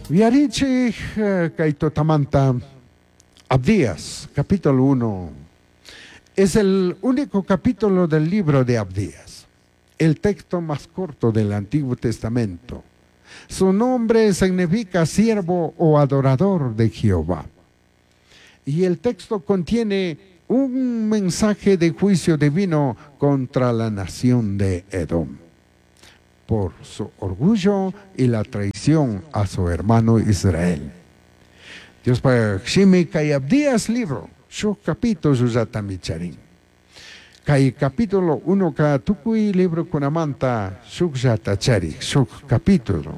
Yuyarichij kay tutamanta Abdías, capítulo 1. Es el único capítulo del libro de Abdías, el texto más corto del Antiguo Testamento. Su nombre significa siervo o adorador de Jehová. Y el texto contiene un mensaje de juicio divino contra la nación de Edom por su orgullo y la traición a su hermano Israel. Diospaj shimi kay Abdías libro, shuj capítulo llatami charin. Kay capítulo 1 ka tukuy librokunamanta shukllata charik, shuk capítulo.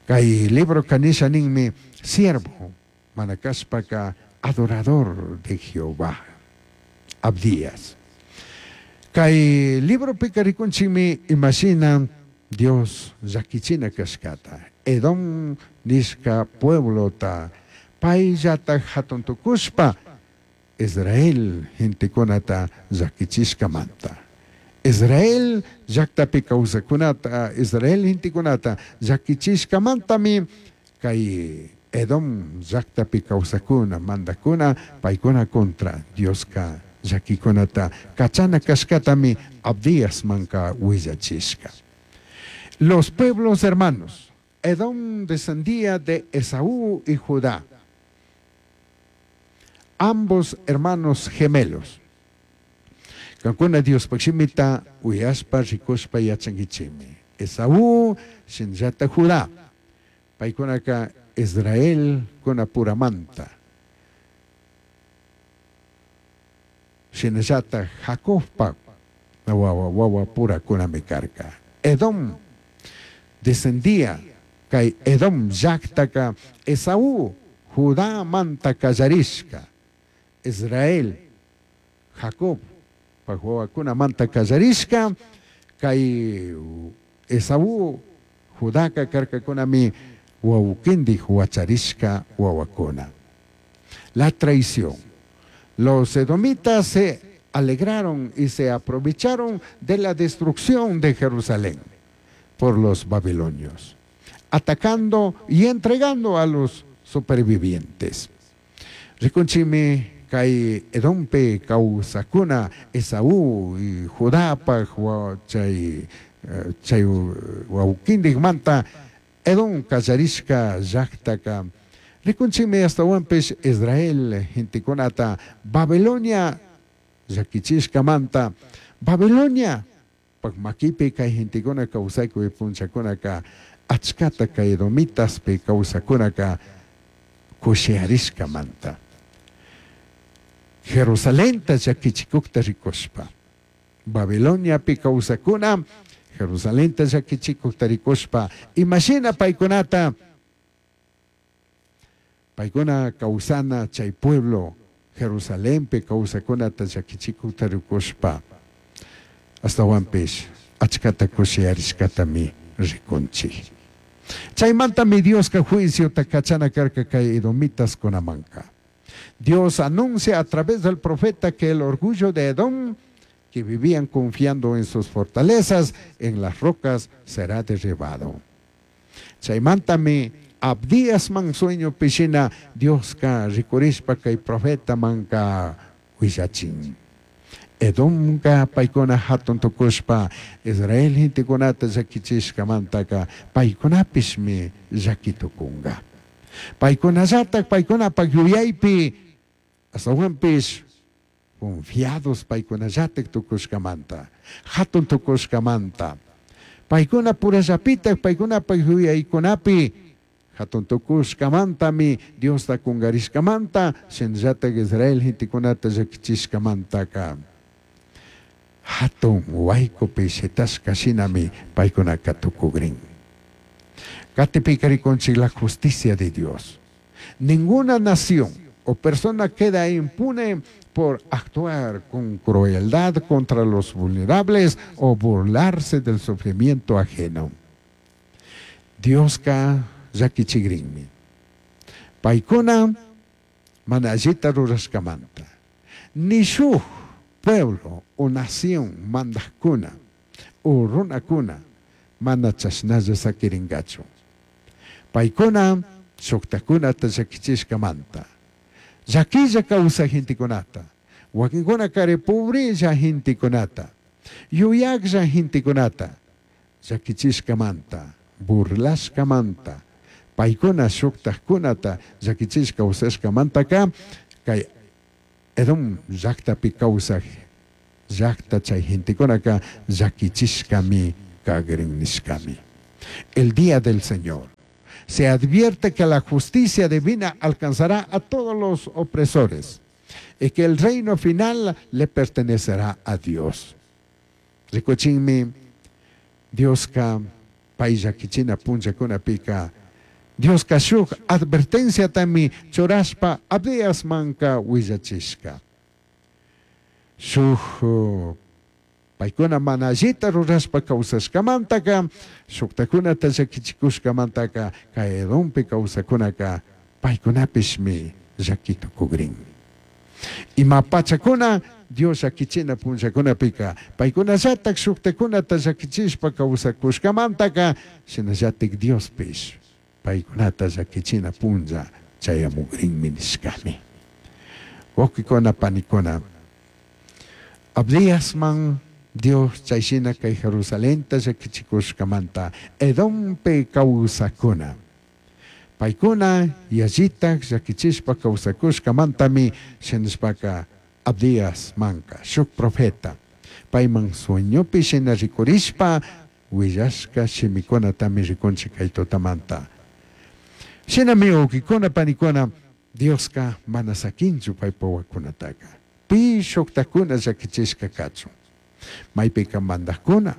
Kay libro kanisha ninmi siervo, mana kashpaka adorador de Jehová. Abdías. Kay libropika rikunchikmi imashina Dios llakichina kashkata. Edom nishka pueblota payllata hatun tukushpa Israel gentekunata llakichishkamanta. Israel llaktapi kawsakunata, Israel gentekunata llakichishkamantami kay Edom llaktapi kawsakuna, mandakuna, paykuna contra Dioska llakikunata kachana kashkatami Abdíasmanka willachishka. Los pueblos hermanos, Edom descendía de Esaú y Judá, ambos hermanos gemelos. Kankuna Diospaj shimita uyashpa rikushpa yachankichikmi. Esaú shinallata Judá, paykunaka Israel kunapuramanta. Shinallata Jacobpa wawa wawa purakunami karka. Edom descendía kay Edom llaktaka Esaú Judamanta kallarishka. Israel Jacob wawakunamanta kallarishka kay Esaú Judaka karkakunami wawkindik wacharishka wawakuna. La traición. Los edomitas se alegraron y se aprovecharon de la destrucción de Jerusalén por los babilonios, atacando y entregando a los supervivientes. Rikunchimi kay Edompe kawsakuna Esaú y Judapaj chay chay wawkintikmanta Edom kallarishka llaktaka. Rikunchikmi astawanpish Israel gentekunata Babilonia llakichishkamanta Babilonia pak makipi kay gentekuna kawsaykuy punchakunaka achkata kay edomitaspi kawsakunaka kushiarishkamanta. Jerusalenta llakichikukta rikushpa Babiloniapi kawsakuna Jerusalenta llakichikukta rikushpa imashina paykunata paykuna kawsana chay pueblo Jerusalenpi kawsakunata llakichikukta rikushpa astawanpish achkata kushiyarishkatami rikunchik. Chaymantami Dioska juiciota kachana karka kay edomitas kunamanka. Dios anuncia a través del profeta que el orgullo de Edom, que vivían confiando en sus fortalezas, en las rocas, será derribado. Chaymantami Abdías man sueño pishina Dioska rikurishpa kay profeta manka willachin. Edomka paykuna hatun tukushpa Israel gentekunata llakichishkamantaka paykunapishmi llakitukunga. Paykunallatak paykunapak yuyaypi astawanpish confiados paykunallatak tukushkamanta, hatun tukushkamanta. Paykuna purallapitak paykunapak yuyaykunapi hatun tukushkamantami Diosta kungarishkamanta shinallatak Israel gentekunata llakichishkamantaka hatun waykupi shitashka shinami paykunaka tukugrin. Katipika rikunchik la justicia de Dios. Ninguna nación o persona queda impune por actuar con crueldad contra los vulnerables o burlarse del sufrimiento ajeno. Dioska llakichigrinmi. Paykuna mana allita rurashkamanta. Ni shuj pueblo o nación mandajkuna o runakuna mana chashnalla sakiringachu. Paykuna shuktakunata llakichishkamanta. Llaquilla kawsaj gentekunata, wakinkuna kari pobrella gentekunata, yuyaklla gentekunata llakichishkamanta, burlashkamanta, paykuna shuktajkunata llakichishka kawsashkamantaka kay Edom llaktapi kawsaj llakta chay gentekunaka llakichishkami kagrin nishkami. El día del Señor. Se advierte que la justicia divina alcanzará a todos los opresores y que el reino final le pertenecerá a Dios. Rikuchinmi Dioska pay llakichina punllakunapika Dioska shuk advertenciatami churashpa Abdiasmanka willachishka. Shuk paykuna mana allita rurashpa kawsashkamantaka shuktakunata llakichikushkamantaka kay Edompi kawsakunaka paykunapishmi llaki tukugrin. Ima pachakuna Dios llakichina punllakunapika paykunallatak shuktakunata llakichishpa kawsakushkamantaka shinallatik Diospish paykunata llakichina punlla chayamugrinmi nishkami. Wawqikuna panikuna Abdiasman Dios chayshina kay Jerusalenta llakichikushkamanta Edompi kawsakuna. Paykuna yallitak llakichishpa kawsakushkamantami shinashpaka Abdias manka shuk profeta payman sueñopi shina rikurishpa willashka shimikunatami rikunchik kay tutamanta. Shinami wawqikuna panikuna Dioska mana sakinchu paypa wawakunataka. Pi shuktakuna llakichishka kachun. Maypika mandakuna,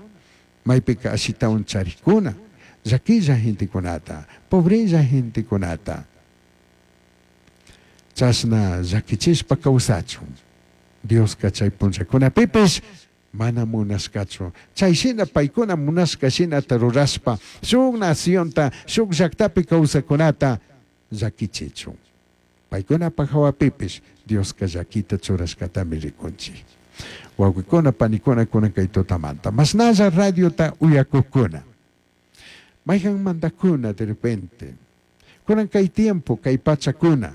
maypika ashitawan charikuna, llaquilla gentekunata, pobrella gentekunata. Chashna llakichishpa kawsachun. Dioska chay punllakunapipish mana munashkachu. Chay shina paykuna munashka shinata rurashpa shuk nacionta, shuk llaktapi kawsakunata llakichichun. Paykunapaj hawapipish Dioska llakita churashkatami rikunchik. Wawqikuna panikuna kunan kay tutamanta. Mashnalla radiota uyakukuna. Mayhan mandakuna de repente. Kunan kay tiempo, kay pachakuna.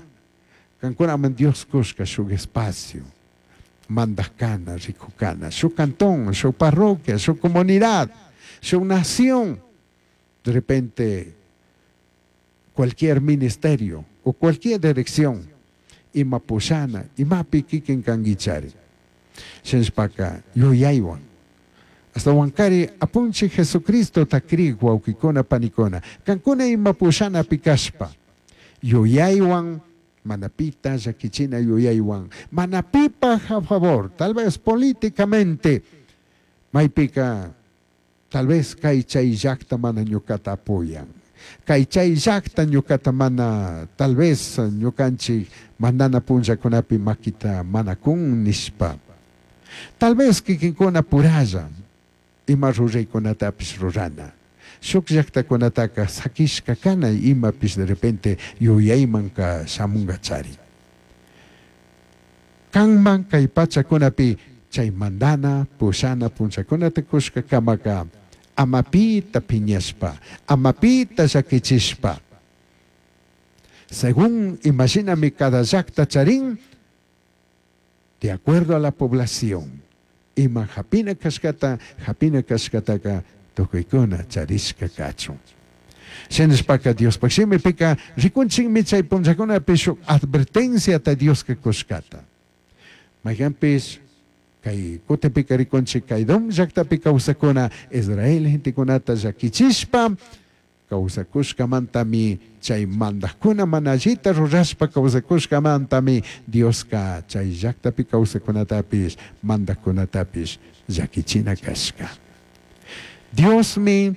Kankunaman Dios kushka shuk espacio. Mandakana, rikukana, shuk cantón, shuk parroquia, shuk comunidad, shuk nación. De repente, cualquier ministerio o cualquier dirección, ima pushana, imapi kikin kanguichari. Shinashpaka yuyaywan. Hasta wankari apunchi Jesucristo takri wawqikuna panikuna. Kankuna ima pushana pikashpa. Yuyaywan, manapita llakichina yuyaywan. Mana pipa a favor, tal vez políticamente. Maypika, tal vez kay chay llakta mana ñukata apoyan. Kay chay llakta ñukata mana, tal vez ñukanchik mandana punllakunapi makita mana kun nishpa. Tal vez kikinkuna puralla ima ruraykunatapish rurana. Shuk llaktakunataka sakishka kana imapish de repente yuyaymanka shamunga chari. Kanman kay pachakunapi chay mandana, pushana punllakunata kushka kamaka amapita piñashpa, amapita llakichishpa. Según imaginami cada llakta charin, de acuerdo a la población, ima hapina kashkata, hapina kashkataka tukuykuna charishka kachun. Shinashpaka Diospaj shimipika rikunchikmi chay punllakunapi shuk advertenciata Dioska kushkata. Mayhanpish kay kutipika rikunchik kay Edom llaktapi kawsakuna Israel gentekunata llakichishpa kawsakushkamantami chay mandakuna mana allita rurashpa kawsakushkamantami Dioska chay llaktapi kawsakunatapish mandakkunatapish llakichina kashka. Diosmi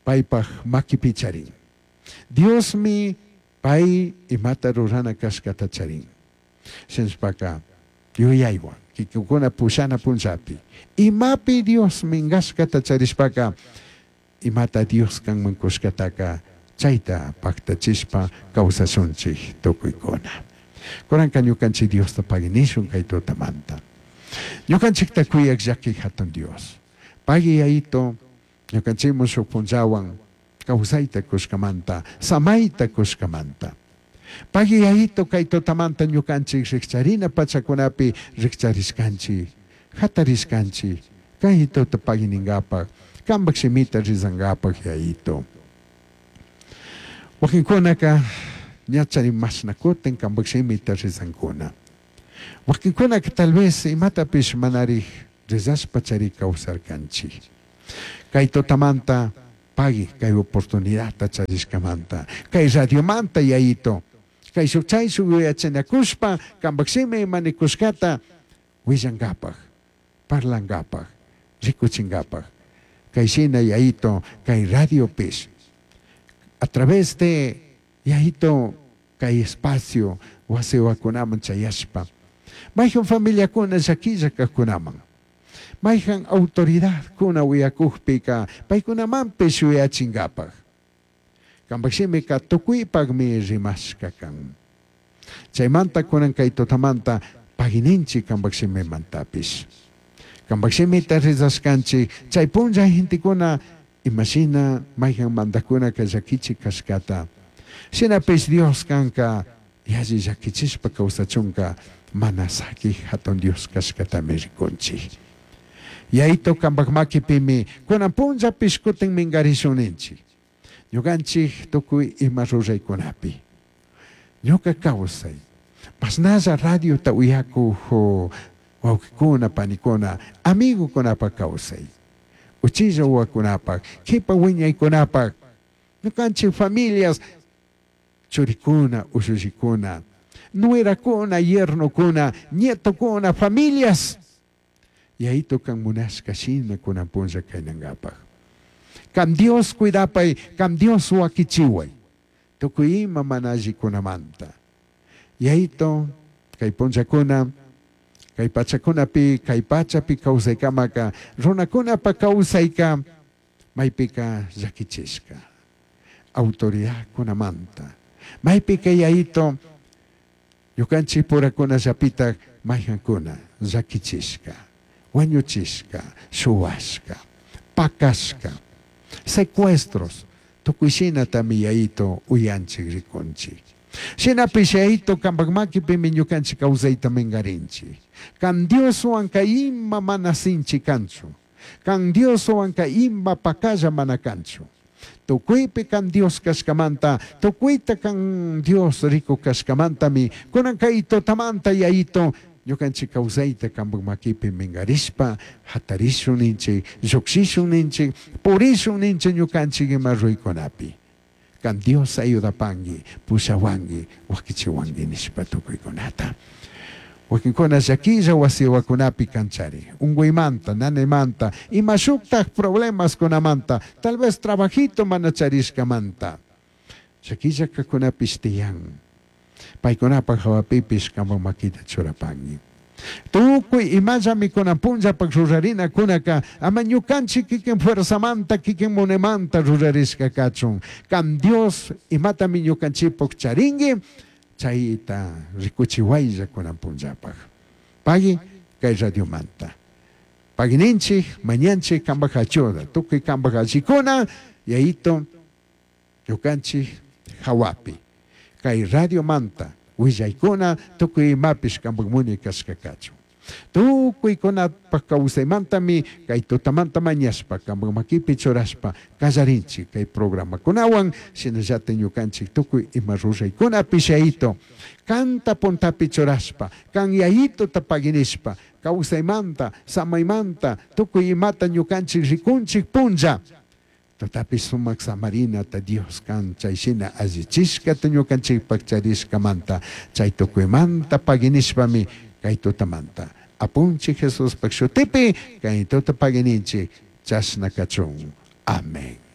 paypaj makipi charin. Diosmi pay imata rurana kashkata charin. Shinashpaka yuyaywan kikikuna pushana punllapi. Imapi Dios minkashkata charishpaka imata Dios kanman kushkataka chayta paktachishpa kawsashunchik tukuykuna. Kunanka ñukanchik Diosta paginishun kay tutamanta. Ñukanchikta kuyak llaki hatun Dios. Pagui yayito ñukanchikmun shuk punllawan Causaita cushcamanta, samaita cushcamanta. Pagui Yayitu kay tutamanta ñukanchik rikcharina pachakunapi rikcharishkanchik, hatarishkanchik, kay tuta pagui ninkapak, kanpak shimita rizankapak Yayitu. Wakinkunaka ña chay mashna kutin kanpak shimita rizankuna. Wakinkunaka tal vez imatapish manarik rizashpa chari kawsarkanchik. Kay tutamanta pagui kay oportunidadta charishkamanta, kay radiomanta Yayitu, kay shuk chayshuk yuyachinakushpa kanpak shimi ima nikushkata willankapak, parlankapak, rikuchinkapak. Kay shina Yayitu, kay radiopish, a través de Yayitu kay espacio wasiwakunaman chayashpa, mayhan familiakuna llakilla kajkunaman, mayhan autoridadkuna uyakukpika paykunamanpish yuyachinkapak. Kanpak shimika tukuypakmi rimashka kan. Chaymanta kunan kay tutamanta pagininchik kanpak shimimantapish. Kanpak shimita rizashkanchik chay punlla gentekuna imashina mayhan mandakunaka llakichik kashkata. Shinapish Dios kanka yalli llakichishpa kawsachunka mana sakik hatun Dios kashkatami rikunchik. Yayitu kanpak makipimi kunan punllapish kutin minkarishun ninchik. Ñukanchik tukuy ima ruraykunapi. Ñuka kawsay. Mashnalla radiota uyakuj wawqikuna, panikuna, amigukunapak kawsay. Uchilla wawakunapak, kipa wiñaykunapak, ñukanchik familias, churikuna, ushullikuna, nuerakuna, yernokuna, nietokuna, familias. Yayitu kan munashka shina kunan punlla kaynankapak. Kan Dios cuidapay, kan Dios wakichiway. Tukuy ima mana allikunamanta. Yayitu, kay punllakuna, kay pachakunapi, kay pachapi kawsaykamaka, runakunapa kawsayka, maypika llakichishka. Autoridadkunamanta. Maypika Yayitu, ñukanchik purakunallapitak mayhankuna llakichishka, wañuchishka, shuwashka, pakashka, secuestros, tukuy shinatami Yayitu uyanchik rikunchik. Shinapish Yayitu kanpak makipimi ñukanchik kawsayta minkarinchik. Kan Dioswan kay ima mana sinchi kanchu. Kan Dioswan kay ima pakalla mana kanchu. Tukuypi kan Dios kashkamanta, tukuyta kan Dios riku kashkamantami, kunan kay tutamanta Yayitu ñukanchik kawsayta kanpak makipi minkarishpa, hatarishun ninchik, llukshishun ninchik, purishun ninchik ñukanchik ima ruykunapi. Kan Dios ayudapanki, pushawanki, wakichiwanki nishpa tukuykunata. Wakinkuna llakilla wasiwakunapi kanchari, unkuymanta, nanaymanta, ima shuktak problemaskunamanta, tal vez trabajito mana charishkamanta. Llakilla kakunapish tiyan. Paykunapak hawapipish kanpak makita churapanki. Tukuy imallami kunan punllapak rurarinakunaka, ama ñukanchik kikin fuerzamanta, kikin munaymanta rurarishka kachun. Kan Dios imatami ñukanchikpak charinki, chayta rikuchiwaylla kunan punllapak. Pagui kay radiomanta. Pagininchik, mañanchik kanpak ayuda, tukuy kanpak allikuna, Yayitu ñukanchik hawapi. Kay radiomanta willaykuna tukuy imapish kanpak munay kashka kachun. Tukuykunapak kawsaymantami kay tutamanta mañashpa kanpak makipi churashpa kallarinchik kay programakunawan, shinallatak ñukanchik tukuy ima ruraykunapish Yayitu kanta puntapi churashpa, kan Yayituta paginishpa, kawsaymanta, samaymanta, tukuy imata ñukanchik rikunchik punlla. Tutapi sumak samarinata Dios kan chay shina allichishkata ñukanchikpak charishkamanta, chay tukuymanta paginishpami kay tutamanta. Apunchik Jesuspak shutipi kay tuta pagininchik chashna kachun. Amén.